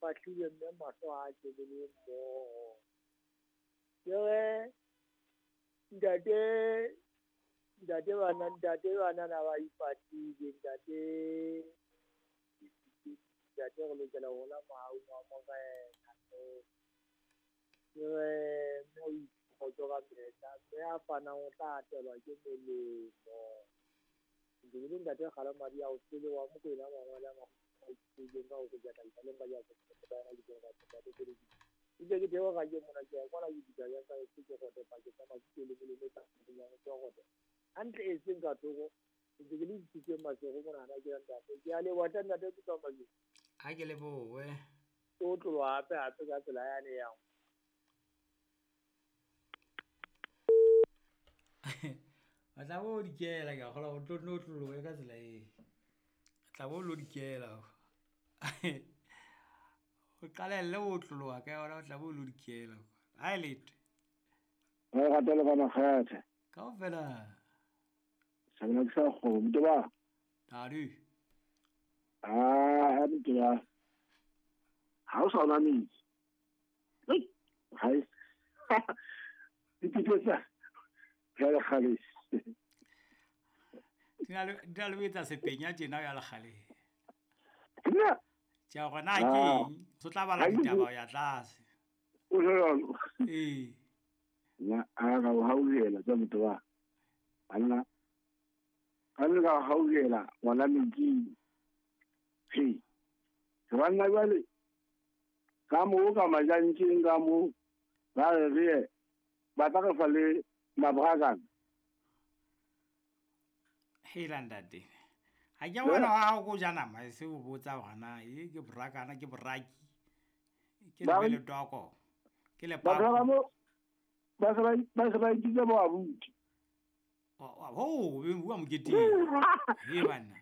fahlile mme mahlo a tjebele mmoho. Ke re ntate bana ba ipatile ntate re lokela ho la mahau a morena. Ke re mme o ikgotso ka mehla, mme a fanang o tla atelwa ke molemo. Ke le ntate Kgalemadi a o tsele wa Mokwena mangwele a makgutshwane ka ho kgutla tla ba ya ba ya ke ke dewa ke mona ke kwala ke dika ya ka ke go te pa ke tsa ke le le ka ya go go hantle e seng ka thoko ke le ditse masego mona na ke ntate ke a le wa ntate ke tsa madi ha ke le bowe o tlolwa hape hape ka tsela ya ne yang a tla bo dikela ka gola go tlo no tlolowe ka tsela e tla bo lo dikela o qalelle o tlolowa ka yona o tla bo lo dikela ha e lete re ratela ba makgathe kaofela sa nna ke sa kgomo motho ba tadi a motho ba ha o sa ona metsi ha e ditse ya le kgale di na le etsa sepenya tjena ya le kgale nna tja gona ke eng so tla bala ditaba ya tlase o jalo ee nna a ga o hauhela tsa motho ba banna ka le ga hauhela ngwana metsi he banna jwale ka moo ka majantjeng ka moo ba re re ba tla re fa le mabrakana hela ntate ha ke bona ha go ja nama e se o botsa hona e ke brakana ke braki ke le toko ke le pa ba se ba itse bo abuti ho be bua mokete he bana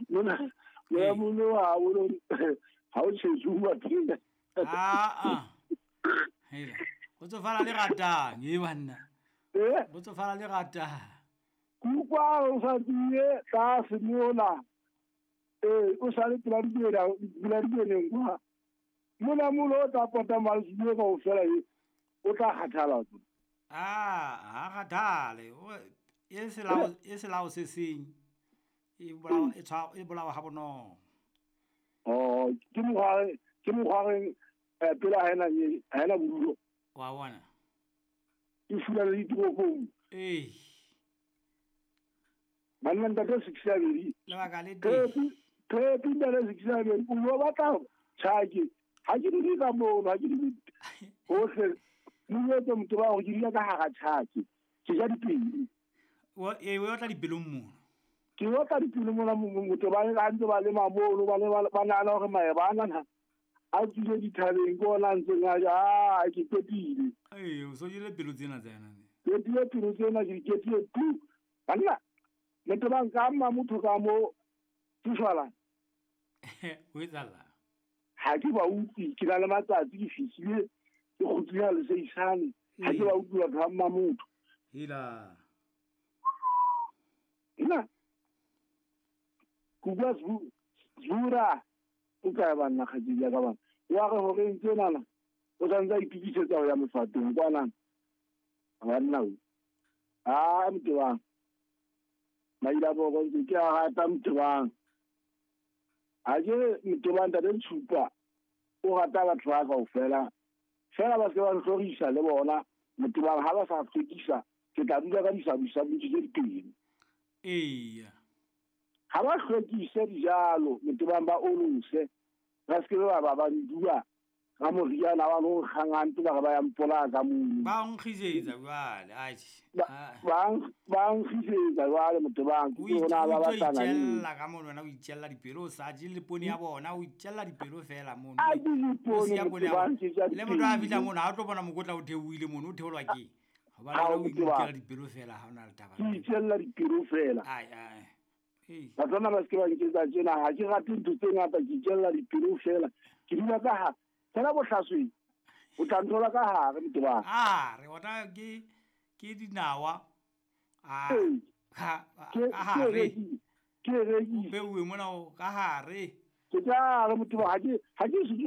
mona ya muno wa o ha o tshetse pina a hela go tsofala le ratang he bana go tsofala le ratang kukwa o sa die ka semola o sa le pela di kwa mona molo o tla pota malsio ka ofela e o tla kgathala a ha kgathale e se lao se seng e bolawa ha bonolo oh ke mokgwa pela ha ena bodulo wa bona e fula le ditoropong ee banna ntate 6 lebaka le teng phepi ntate 6 o batla tjhake ha ke di ka mono ha ke di hohle motho motho ba go dira ka hara tjhake ke ja dipelo o e o tla dipelong mono ke o tla dipelo mona motho ba le ntse ba le mamono ba le ba nana hore mae ba nana a tsile dithabeng ke ona ntseng a ja ke ketile ee o so jele pelo tsena tsa yona ke tile pelo tsena ke ketile tu banna motho ba nka mma motho ka mo tsufala o etsala ha ke ba utlwe ke na le matsatsi ke fihlile ke kgutlile le seisane ha ke ba utlwe batho ba mma motho hela nna kugwa zura o ka ba nna kgajedi ya ka bana wa re hore ntse nana o santse a itukisetsa ho ya mofatong kwana banna o a motho bang maila bo go ntse ke a rata motho bang a ke motho bang ntate Tshupa o rata batho ba kaofela fela ba se ba ntlhorisa le bona motho bang ha ba sa hlwekisa ke tla dula ka disabusabu tse dipedi eya ha ba hlwekise dijalo motho bang ba olose ba se ke ba ba ndua ka moriana wa no kgangantse ba ba ya mpola ka mono ba nkgisetsa jwale atjhe ba nkgisetsa jwale motho bang ke hona ba batlana le ka mono wena o itjella dipelo o sa je le pone ya bona o itjella dipelo fela mono a di dipone le motho a fihla mono ha o tlo bona mokotla o theohile mono o theolwa ke hobane o itjella dipelo fela ha ona le taba o itjella dipelo fela ai ai Batswana ba se ke ba nketsa tjena ha ke rate ntho tse ngata ke itjella dipelo fela ke dula ka ha fela bohlasweng o tla nthola ka hare motho ba a re ona ke dinawa a ka hare ke re beuwe mona o ka hare ke tla re motho ba ha ke se